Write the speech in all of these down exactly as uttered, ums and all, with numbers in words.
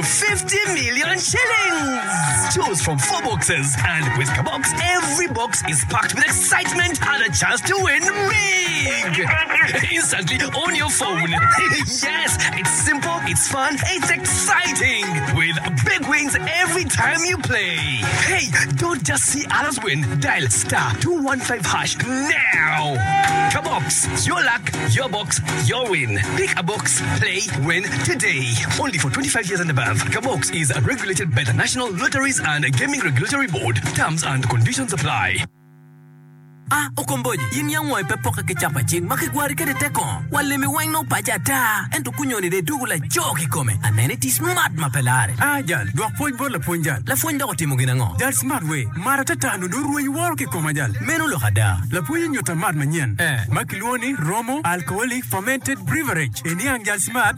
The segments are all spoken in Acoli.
fifty million shillings! Choose from four boxes, and with Kabox, every box is packed with excitement and a chance to win big! Instantly on your phone. Yes, it's simple, it's fun, it's exciting! With big wins every time you play. Hey, don't just see others win. Dial star two one five hash now! Kabox, your luck, your box, your win. Pick a box, play, win today. Only for twenty-five years and above. Kabox is regulated by the National Lotteries and Gaming Regulatory Board. Terms and conditions apply. Ah, okomboji, in yang wai pe poke ki capa cing ma kigwari kede te kongo. Wa lemi weng nongo paco ata, ento kunyoni de dugo laco kikome. Anene ti smart ma pe lare. Ah, jal, dwok pwony bot lapwony jal. Lapwony dok otimo gin ango? Jal smart we, mat atata nongo dong rweny woro kikoma jal. Meno lok ada. Lapwony onyuta mat manyen Eh. ma kilwongo ni Romo Alcoholic Fermented Beverage. Iniang jal smart.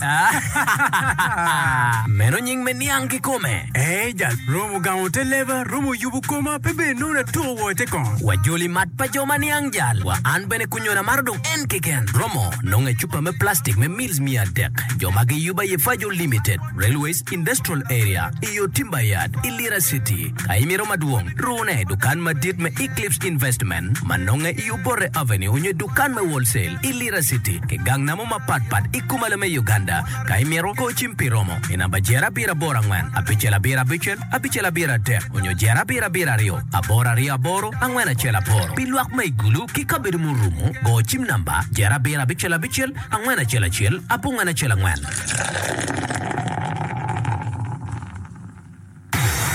Meno nying me niang kikome. Eh, jal, Romo gamo te leba, Romo yubo koma, pe bene nongo natuko wo te kongo. Wajoli mat pa jo ma niang jal. Wa an bene kunyona maro dong en keken. Romo nongo e cupa me plastic me mils miya adek. Jo ma giyubo aye Fajo Limited, Railways Industrial Area, iyo Timber Yard, i Lira City. Ka imito madwong, rune i dukan madit me Eclipse Investment, ma nonge i Obote Avenue onyo i dukan me Wholesale i Lira City, ki gang namo mapatpat i kumalo me Uganda. Ka imito, go cim pi Romo i namba jer abiro aboro angwen, abicel abiro abicel, abicel abiro adek, onyo jer abiro abiro aryo, aboro aryo aboro, angwen acel aboro. Pi lwak ma i Gulu ki kabedo murumo, go cim namba jer abiro abicel abicel, angwen acel acel, abongwen acel angwen.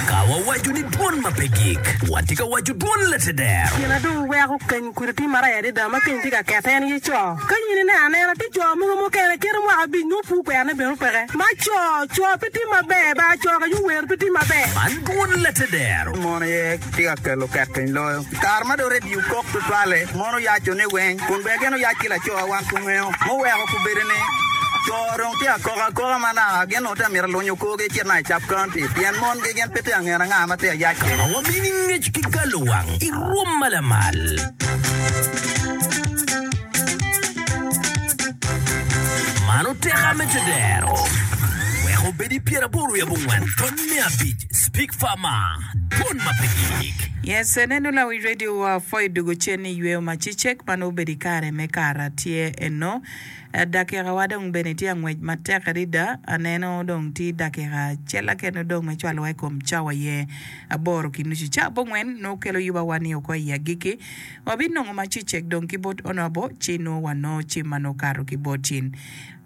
Ka wawaco ni dwon ma pe gik, watye ka waco dwon lateder. Gin adong weko keny kudi tye marac adada ma keny tye ka kete en aye co. Ka in ineno anena tye co mogo mukene kite mwaka abic nongo pur kwerone bene peke. Ma co, co pe tye maber ba co ka wer pe tye maber. Man dwon lateder. Mon aye tye ka kelo ket piny loyo. Kare ma dong redio kok tutwalle, mon oyaco ni weng, kun bene gin oyac ki laco wan kungeyo. Muweko kubedo ni co dong tye akoka akoka ma naka gin onongo tye mito lunyo korgi cit na i Sub County pien mon gi gin pe tye angeno anga ma tye ayac Ka wamini ngec ki galo wang i rwom ma lamal. Man oteka me tedero. Wek obed i pyeraboro wiye abongwen tony me abic Speak Farmer dwon ma pe gik. Yes, neno lawi radio wa pwoyo dugo cen ni yweyo ma cicek ma nongo obedo i kare me kara tye eno. Dakika wa dong bene tye angwec matek adada. Aneno dong tye dakika acel kene dong me cwalowa i kom cawa ye aboro ki nucu. Ca abongwen nongo kelo yuba wa ni oko i agikki. Wabinongo ma cicek dong ki bot Honorable ci nongo wanongo cim ma nongo kato ki bot cin.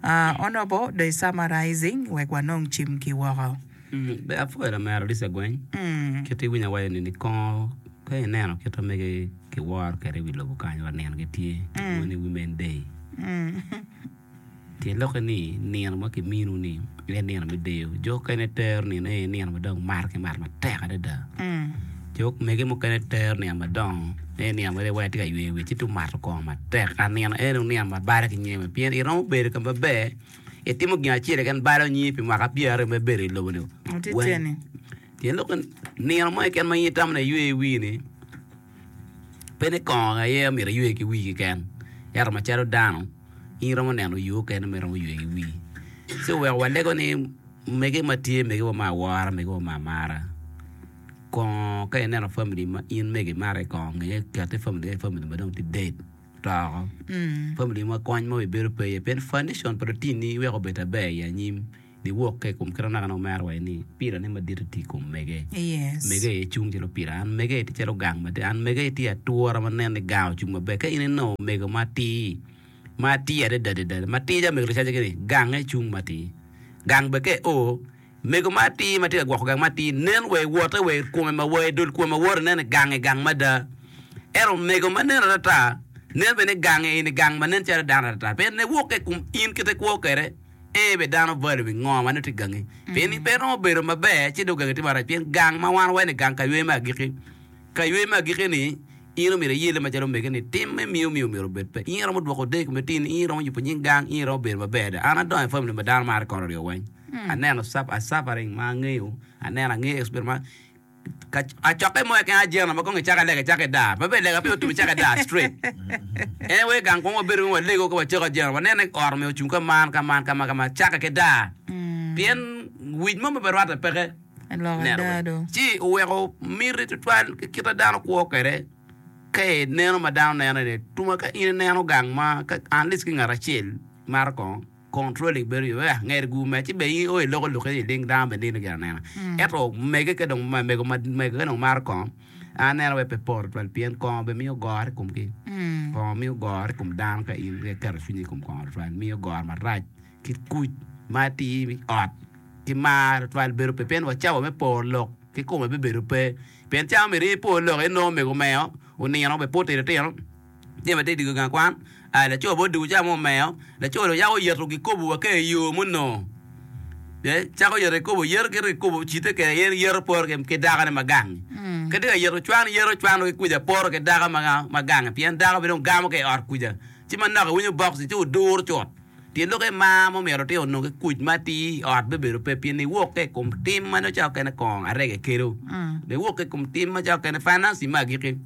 Uh, Honorable the summarizing wek wanong cim ki woko. Be apwoyo lamera Lisa Gweng. Mm. Kit iwinyo awaco ni ni kongo ka ineno kit ma mege kiworo kwede i wi lobo kany wa nino gitye kilwongo ni Women Day. Mm. Tyen lokke ni nino ma kiminu ni en nino me deyo. Jo okene tero nino en nino ma dong mato ki mat matek adada. Mm. Jo mege mukene tero nino madongo en nino ma wai tye ka yweyo wiye ci tu mato kongo matek. A nino en nino ma bade ki nyeme pien iromo bedo ka maber itimo gin acel keken balo nyingi pi mwaka pyeraryo me bedo i lobo ni. Oti Weng. tye ni. Tyen lokke nino mo keken ma in itamo ni iywe i wii ni pe ni kongo aye myero iywe ki wii keken ento macalo dano in iromo neno yo okene ma iromo ywe ki wii. So weko walego ni mege ma tye mege wa ma awora mege wa ma amara kongo ka ineno family ma in mege imaro i kongo ngeye kete family e family ma dong tye dead toko Mm. family ma kony mo bedo pe iye pien foundation pa lutini weko obed aber i anyim niwok ka i kom kite naka omera waco ni pila ne madit tye i kom mege. Yes. Mege aye cung calo pila an mege tye calo gang madit an mege tye atura ma nen ni gang ocung maber ka in inongo mego matir matir adada adada matir calo mego lucaca ni gange cung matir gang bene ka io mego matir ma tye ka gwoko gang matir nen wa i wote wa i kome ma wa i dul kome ma wote nen ni gange gang mada ento mego ma nen atata nen bene ni gange eni gang ma nen calo dano atata pien ne wok ka i kom in kite kwo kwede e be dano value bi ngo ma nongo tye gangi pien ni pe romo bedo maber ci dong gangi tye marac pien gang ma wan waco ni gang ka ywe me agikki ka ywe me agikki ni in omyero iyelle macalo mege ni tim me miyo miyo myero obed pe in iromo dwoko deyo i kom latinni in iromo yubo nying gang in iromo bedo maber adada an adongo i family ma dano maro kono ryo weng aneno sap- a suffering ma angeyo aneno angeyo experience ma ka acokke mo keken ajena ma kong icako lega icako idar ma be lega pe otum icako idar straight en wai gang kong wabedo walego ka wacako ajena waneno ni ot omiyo ocung ka man ka man ka man ka man cake ki dar pien Wic mo ma pe rwatte peke. Lok Neno ada bene. do. Ci oweko miti tutwal ki kit ma dano kwo kwede ka ineno ma dano neno ni tuma ka in ineno gang ma ka at least ki ngat acel mato kongo controlling bedo yo eh ngeri gu me ci bene in o iloko lokke i ling dano bene nino gin anena ento mege ka dong mego ma mego ka dong mato kongo an aneno wai pe poro tutwal pien kongo bene miyo goro i komgi kongo miyo goro i kom dano ka in iketo cwinyi i kom kongo tutwal miyo goro marac ki kuc ma atir i ot ki mar tutwal bedo pe pien wa cawa me poro lok ki kome bibedo pe pien cawa myero in ipor lok inongo mego omeo onino bene pe otito tino jami atye diko gang kwan aa laco bene odiko cawa mo omeo laco dong yako oyeto gikobo wa ka iyo munongo eh cako yeto kikobo yeto kito kikobo ocite kwede en yeto poro ki dakone ma gang ka tye ka yeto cwan yeto cwano ki kuca poro ki dako ma gange pien dako bene dong gamo ki i ot kuca ci manok iwinyo box ci oduro cut Tyen lok aye mar ma omyero lutino onong ki kuc ma atir i ot bibedo pe pien niwok ki i kom tim ma nongo cawa okene kongo arege kelo. Niwok ki i kom tim ma cawa okene financing me agikki.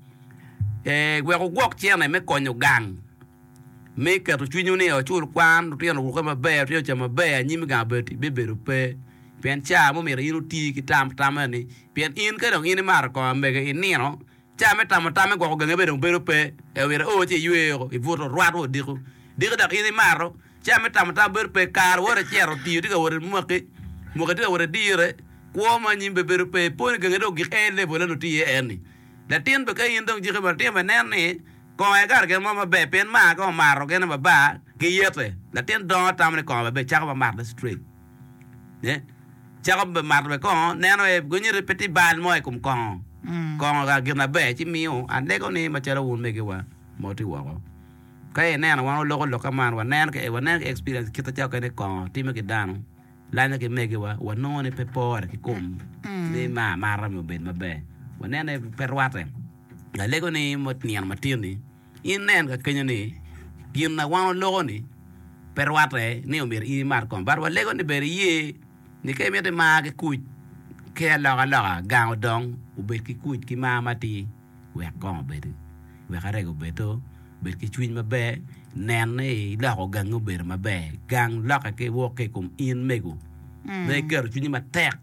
Eh, wek wugwok cene me konyo gang me keto cwinywu ni ocul kwan, lutino orukke maber, lutino ocam maber, anyim i gang obedo bibedo pe. Pien ca ma omyero in oti ki tam tam eni, pien in ka dong in imato kongo amege inino, Ca me tamo tam me gwoko gangi bene dong bedo pe, ento myero io ci iywe woko, ibuto, rwat wa odiko. Diki dok in imato, ca me tamo tam bedo pe, kare wot icito, tiyo tye ka wot imwaki, mwaki tye ka wot idire, kwo ma anyim bene bedo pe, ipo ni gangi dong ogik en level eno tye iye en-ni. Latin bene ka in dong jiki bene latin bene neno ni kongo aye kare gin mo maber pien mar ka omato gine mabar ki yete, latin dongo tamo ni kongo maber cako ma matone straight. Cako mato bene kongo, neno aye gunyuto ni pe tye bal mo i kom kongo. Kongo ka gin maber ci miyo alego ni macalo wun megiwa ma wutye woko. Ka ineno wan waloko lok man, waneno ki waneno ki experience kit macalo kene kongo timo ki dano, lanyo ki megiwa, wanongo ni pe pore ki kom ni me amata myero obed maber. Waneno ni pe rwate. Alego ni nino matin-ni In nen ka kenyo ni gin ma wan waloko ni pe rwatte ni omyero in imat kongo. But walego ni ber iye ni ka imito imar ki kuc ki alokaloka gang odong obed ki kuc ki mar matir wek kongo obedi wek arego obedo bed ki cwiny maber nen ni iloko gangi obedo maber gang lokke ki wok ki i kom in mego ma iketo cwinyi matek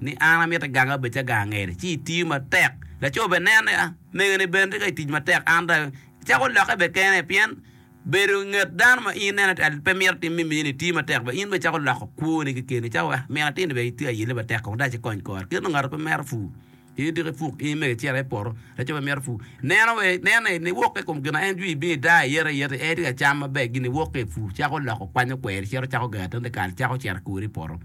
ni an amito ganga obed calo gang angeri ci itiyo matek laco bene neno ni a Mego-ni bene tye ka tic matek, an dong acako lokke bene kene pien bedo i nget dano ma in ineno ni pe mito tim me mini tiyo matek bene in bene icako loko kwoni kekeni icako wek min atin-ni bene tye ka yelle matek kong dong acikony kore kit nongo ngato pe mito pur in diki ipuk in mege icito i poto laco pe mito pur neno neno ni niwok ki i kom gin ma en jwi ibino idaa iyete iyete en tye ka cam maber gin niwok ki i pur cako loko kwanyo kweri cito cako gero atin kal cako cito kori i poto.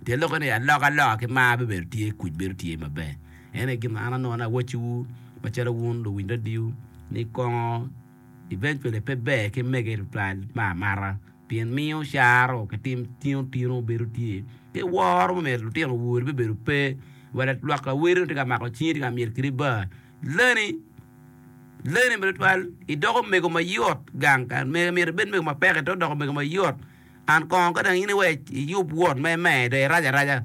Tyen lokke ni alokaloka ki mar bibedo tye, kuc bedo tye maber. En aye gin ma an anongo ni awacciwu macalo wun luwiny radio ni kongo eventually pe ber ki mege tutwal me amata pien miyo caro ki tim tino tino bedo tye ki woro ma myero lutino owor bibedo pe wa lwak laweri tye ka mako cingi tye ka myel kidi bar leni leni tutwal idoko mego mayot gang myero ibed mego mapek ento idoko mego mayot. An kongo ka dong in iwec iyub wot me me dong irac araca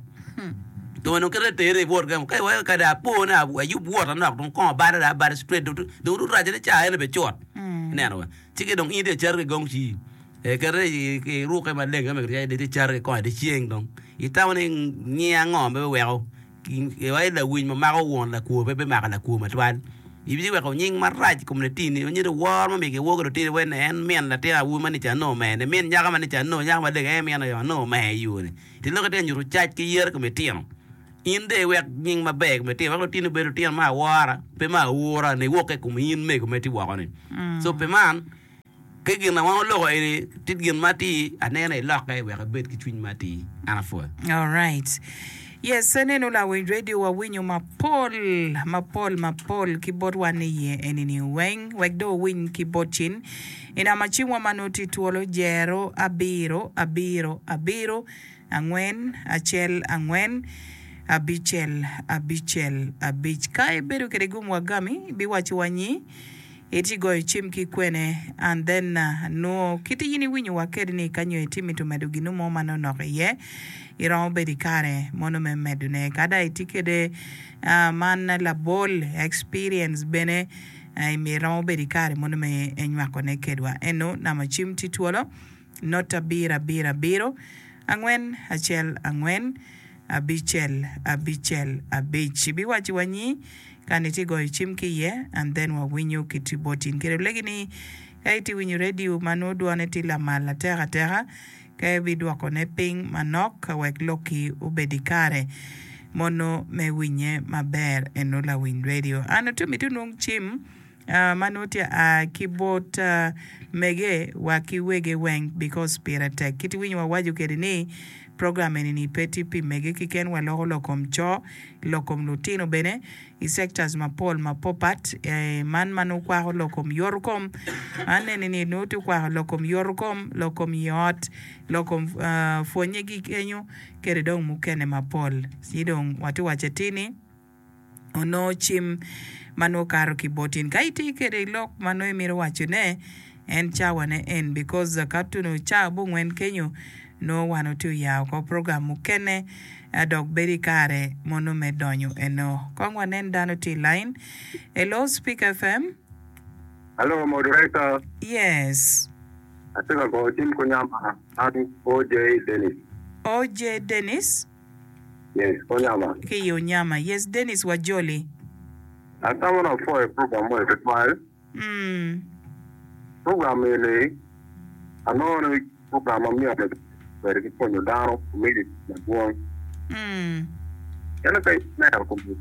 dong onongo kite teri i wot gemo ka iweko kadi apo ni ayub wot anok dong kongo bada dong abada straight dong dong raca ni ca eni bene cut ineno wa ci ki dong in itye ka cito ki gong ci kete iruke maleng ka mege itye cito ki kongo dyeceng dong itamo ni ngi ango ma biweko Iwaci lawiny ma mako won lakwo pe bimako lakwo matwal. Ibiweko nying marac i kom latinni, nyuto woro ma myero kiwor ki lutini wek ni en min latin awobi ma nica nongo omer-ni, min nyako ma nica nongo nyako maleng en min aye nongo omer i yo-ni. Tyen lok itye ka nyuto cac ki yero i kom litino. In dong iwek nying maber i kom litino wek lutini obed lutino me awora pe me aura niwok ki i kom in mego ma itye woko-ni. So pi man, Ki gin ma wan waloko eni tye gin ma atir, anene ilokke wek ibed ki cwiny ma atir. An apwoyo. Alright. Yes, aneno lawiny radio wawinyo mapol, mapol, mapol ki bot wan iye eni ni weng, wek dong owiny ki bot cin. I namba cimwa ma nongo tye twolo jero abiro, abiro, abiro, angwen, acel, angwen, abicel, abicel, abic. Ka ibedo kede gum wagami, ibiwaco wa nyi. Itye goyo cim ki kwene and then nwo kit in iwinyo wa kede ni ka nyo itye mito medo ginu mo ma nonok iye iromo bedo ikare mono me medo ne kada itye kede man labol experience bene iromo bedo ikare mono me nywako ne kedwa eno namba cim tye twolo not abiro abiro abiro angwen acel angwen abicel abicel abic. Ibiwaci wa nyi ka ni tye goyo cim ki iye and then wawinyo ki tye bot in. Kede olegi ni ka itye winyo radio ma nongo dwone tye lamal atek ateka ka ibidwokone piny manok wek lokki obed i kare mono me winye maber eno lawiny radio. An otum iti onwong cim ma nongo tye a ki bot mege wa ki wege weng because pire tek. Kit iwinyo wawaco kede ni program eni ni pe tye pi mege kiken waloko lok kom co, lok kom lutino bene i sectors mapol mapopat man ma nongo kwako lok kom yoto kom man eni ni nongo tye kwako lok kom yoto kom, lok kom i ot, lok kom pwonye gi kenyo kede dong mukene mapol. Ci dong watye waco atir ni onongo cim ma nongo kato ki bot in. Ka itye kwede lok ma nongo imito wacone, en cawane en because ka tuno cawa abongwen kenyo nongo wan watye oyao oko program mukene dok bedo i kare mono me donyo eno. Kong wanen dano tye i line. Hello Speak F M. Hello, moderator. Yes. Atye ka goyo cim Konyama. An O J Dennis. O J Dennis? Yes, Konyama. Ki i Onyama. Yes, Dennis Wajoli. Atamo na pwoyo program mo tutwal. Mm. Program eni anongo ni program ma myero bedo ki pwonyo dano community madwong. Mm. Ento ka ineno kombeddi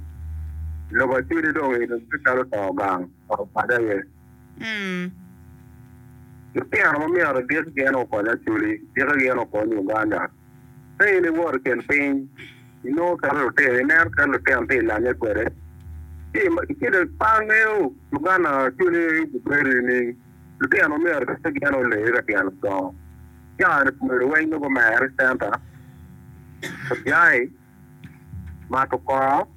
lobo acwali dong eni tye calo to gang to paco aye. Mm. Lutino ma myero diki gin okony Acholi, diki gin okony Uganda. Ka in iwoto i kin piny, inongo kadi lutino, ineno kadi lutino tye i lanye kwede. Ci pe angeyo Uganda Acholi gubedo nining. Lutino myero diki gin olee ka tyen odongo. Caa-ni obedo weng nongo gumere i centa, ojai, mato kongo,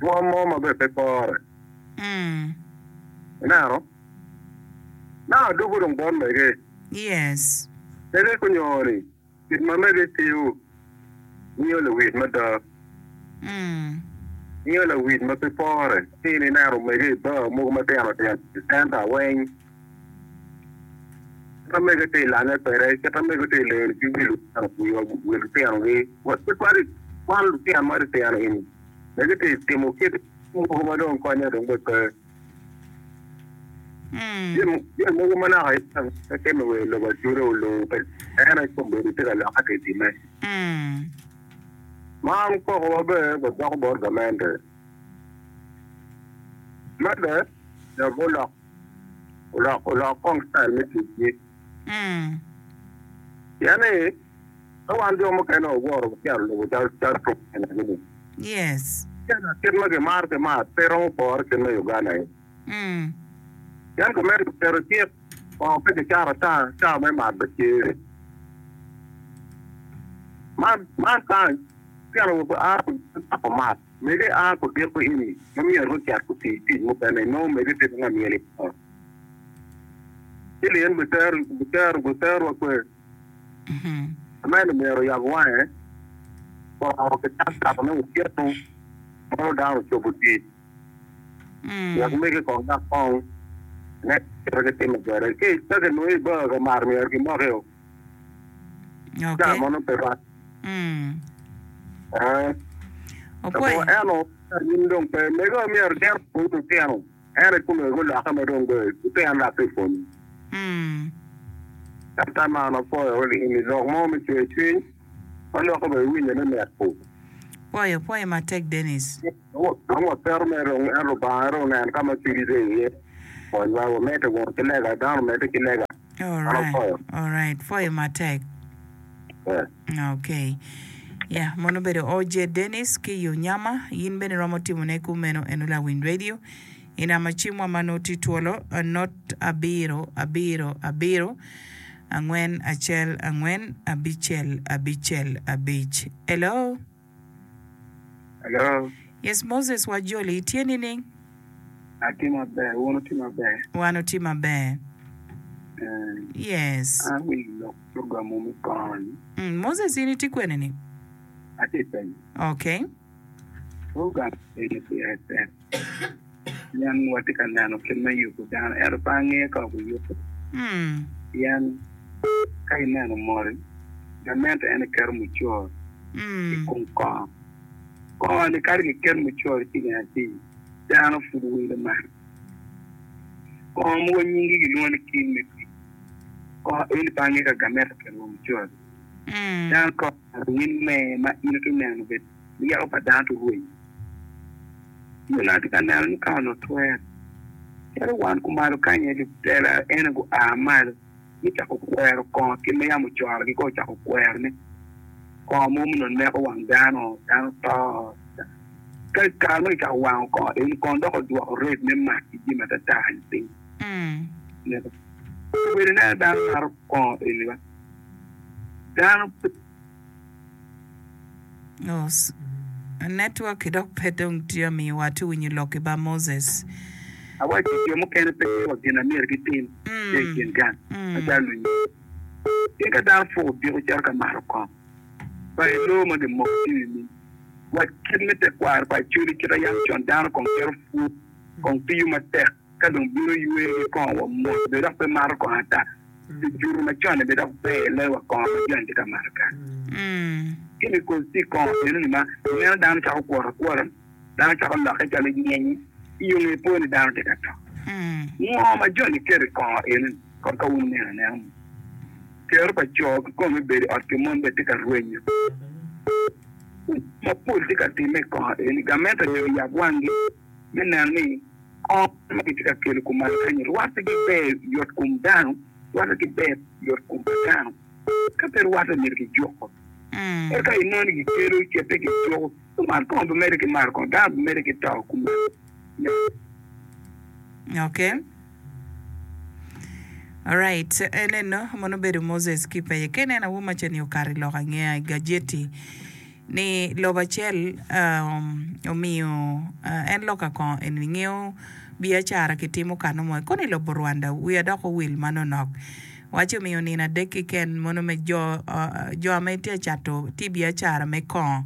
rwom mo ma bene pe pore. Mm. Ineno? Na adugo dong bot mege. Yes. Mege kunyoni, kit ma mege tiyo, miyo lawit mada. Mm. Miyo lawit ma pe pore. Ci in ineno mege i bar mogo matino tino i centa weng. Kit ma mege tye i lanye kwede, kit ma mege tye i leyo ki wi lutino wi lutinogi. Tutwal kwan lutino ma titino eni. Mege tye i timo kit mogo ma dong konye dong be pe. Mm. Jami jami mogo ma naka pe timo i lobo Acholi olungo pe en aye kombeddi tye ka lokke tye time. Mm. Man koko maber wadoko bot gamente. Medde dok olok olok olok kong style me ticgi. Mm. Pien ni ka wan jo mukene waworo wacito lobo cal cal ni. Yes. Kit ma gimaro ki mat pe romo pore kit me Uganda ni. Mm. Pien gamente oketo cik kongo pe kicato ata cawa me mat be tye. Man man kany tyen a cako mat mege a kudiko ini ma myero gucit guti tic mukene nongo mege tye ka myel i ot. Ci lin gutero gutero guterwa kwe. Mhm. Gamente myero oyab wange kongo kicak catone otyeno mono dano ocobo tic. Mm. Wek mege kong dok kong ne kite gitimo kwede. Ki ka kinongo i bar ka mat myero gimoki o. Ca Okay. mono pe rac. Mm. Eh. Opwoyo. Eno in dong pe mege myero gin opwony lutino en aye kome gulokke ma dong be lutino dok tye pwonyo. Mm. Ata man apwoyo ini lok mo me cwer cwiny ma loko be iwinyo ni mit pu. Pwoyo, pwoyo matek Dennis. Dong waketo mere dong en Lubanga dong onen ka ma cwinyi tye iye. Konywa wamedde wunu ki lega, dano omedde ki lega. All An right. apwoyo. All right. Pwoyo matek. Eh. Okay. Yeah, mono obedo O J Dennis ki i Onyama. In bene romo timone kumeno eno Lawiny Radio. I namba cimwa ma nongo tye twolo not abiro abiro abiro angwen acel angwen abicel abicel abic. Hello. Hello. Yes, Moses Wajoli, itye nining? Atye maber, wun wutye maber? Wan otye maber. Eh, Yes. An awinyo lok program me kongo-ni. Mm, Moses in itye kwene ni? Atye i penyo. Okay. Program eni pire tek. Pien watye ka neno kit me yubo dano ento pe angeyo ka obiyubo. Mm. Pien ka ineno moti, gamente en keto mucoro. I kom kongo. Kongo ni kadi kiket mucoro ciling abic, dano pud wilo mato. Kongo mogo nyingi gilwongo ni kin me pii. Kongo eni pe ange ka gamente oketo wa mucoro. Dano kongo mato in me ma in itye neno bed ryeko pa dano tye rwenyo. Ci onongo atye ka neno ni ka onongo twere, calo wan kumalo kany aye lutela ene gua malo gucako kwero kongo kit ma yam ocorogi kong ocako kwerone. Kongo mogo ma onongo neko wang dano, dano to. Ka i kare ma kicako wango kongo eni, kongo dok odwoko rate me mac ki jami atata-ni piny. Neko. Obedo ineno dano mato kongo eni ba? Dano pe. Oh, network dok pe dong tye amiyo wa ti winyo lok ki ba Moses. Awaco jo mukene pe tye wa gin a myero gitim ki i kin gang macalo lunyodo. Pien ka dano puk odiko cito ka mato kongo, pa i loo ma gimoko tye nining? Wac kit me tekwaro pa Acholi kit a yam con dano kong cito pur, kong tiyo matek ka dong bino ywe ki kongo wa mot bene dok pe mato kongo ata. Pi juto macon-ni bene dok ber loyo wa kongo ma joni tye ka mato kany. Chemicals tye i kongo eno-ni ma ineno dano cako kwoto akwota, dano cako lokke calo nyenye, i yo nge po ni dano tye ka to. Ngo ma joni keto i kongo eno-ni? Kong ka wun wuneno anena mo. Kero pa co kikome me bedo i ot ki mon bene tye ka rwenyo. Mapol tye ka timme i kongo eni. Gamente myero oyab wanggi me neno ni kongo ma kitye ka kelo kumalo kany-nyi rwatte ki ber yot kom dano, rwatte ki ber yot kom pa dano. Ka pe rwatte myero kijuko. Ento ka inongo ni kikelo ce pe kijuko, lumat kongo bimedde ki mato kongo, dano bimedde ki to kumalo. Okay. Alright, eneno mono obedo Moses ki peye. Ka ineno awobi ma cen-ni okato i lok angeya i gajeti ni lobo acel um, omiyo uh, en loka kongo eni ngeyo biacara kitimo kano mo kono i lobo Rwanda wiya dok owil manonok waco omiyo nino adek keken mono me jo uh, jo ame tye cato tye biacara me kongo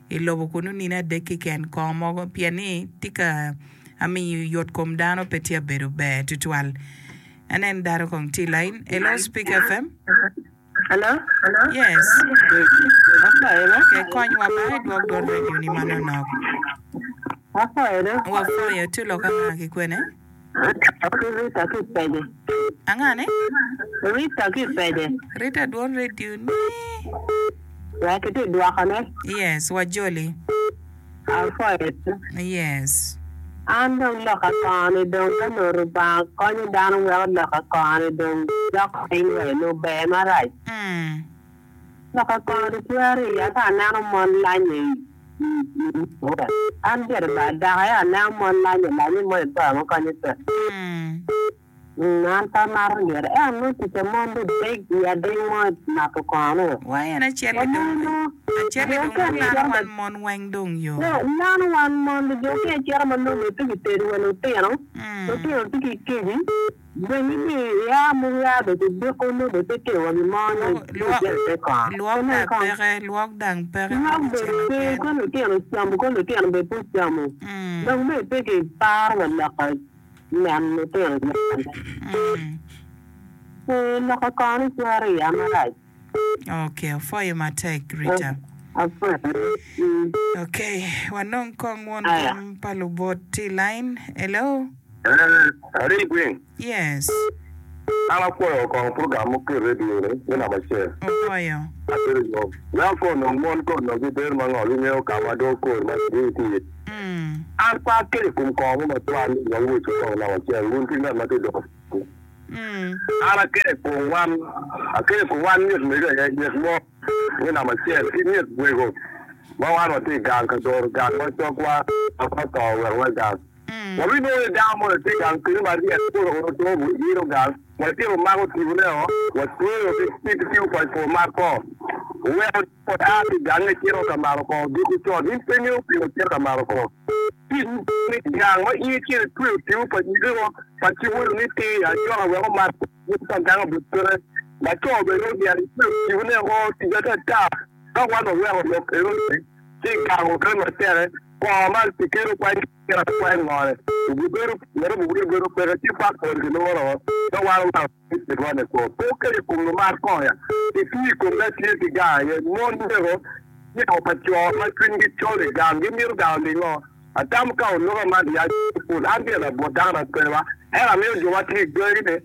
i lobo kunu nino adek keken kongo mogo pien ni tye ka amiyo yot kom dano pe tye abedo ber tutwal. Anen dano kong tye i line. Hello, Speak F M. Hello? Yes. Apwoyo ba? Okay, konywa ba idwok dwon radio ni manonok. Apwoyo do. Wapwoyo tye lok anga ki kwene? Ki Rita ki Pece. Anga ni? Rita ki Pece. Rita, dwon radio ni. Wek itye dwokone. Yes, wajoli. Apwoyo do. Yes. An dong loka kongo-ni dong ka nongo Rubanga konyo dano weko loka kongo-ni dong dok piny wa i nongo ber marac. Mm. Loka kongo-ni twero iya ka aneno mon lanye i an gire ba dako aye aneno mon lanye lanye mo i bar ma konye pe. Mm. Mm, an pe amato gire. Ento nongo tic a mon dong deg i ading mo i mato kongo ni. Wa en acel Wa dong mon nongo acel jo dong okene lano cito wan mon weng dong yo. Lano wan mon jo okene cito ma nongo bene pe kitedo wa lutino, Mm. lutino tye ki keci, dong ibi ia mogo ia bene kidiko nongo bene pe tye wa gin mo ni Lwok cito ite kongo. lwok Pe dang nen kong. peke, lwok dang peke Lwok kong bene acel pe, acel. ka lutino ocamo ka lutino bene pe ocamo. Mm. Dong bene pe kiparo wa loko neno lutino nyane. Mm. Ee, loko kongo ni cwero iya marac. Okay, opwoyo matek Rita. Apwoyo. Mm. Okay, wanong kong won Aya. kom pa lubot tye i line. Hello? Ari Gweng, Yes. an apwoyo kong program muketo radio ni me namba acel. Opwoyo. Abedo yom. Wek onong mon ko onong gibedo ma ngo gingeyo ka ma dong kor ma gitye iye. Mm. An pe akeco i kom kongo mo matwal ni wawec kong namba acel wun ki ngat ma tye doko. Mm. An akeco i kom wan, akeco i kom wan nyet mego aye nyet mo me namba acel ki nyet wego ma wan watye i gang ka doro gang ma cokwa ma to wek wa gang. Mm. Wabinongo ni dano mo tye gang kenyo maryek koro otobo yiro gang watimo mako tibone o watweyo ki tipo pa po mar ko weko a ki gange cito ka mato kongo odiko con in pe ingeyo pingo cito ka mato kongo gang ma in icito itweyo tipo pa nyigego pa ci welo ni tir acoka wek omat pa gang obed peke laco bene odyero itweyo tibone o tic atata ka wan waweko lok eno ci gang obedo matek kongo ma kikelo kwany kwany ngone obibedo ngete obibedo bedo peke ci passport kiloro ka wan weko rwane ko pe okeco i kom lumat kongo ya itiyo i kom ka tye ki gang aye mon mego Jeko pa co ma cwinygi col i gang gimito gang ningo? Atamo ka oloka man ya pul an tye labot dano na pe ba. Ento amiyo jo ma tye i gangi-ni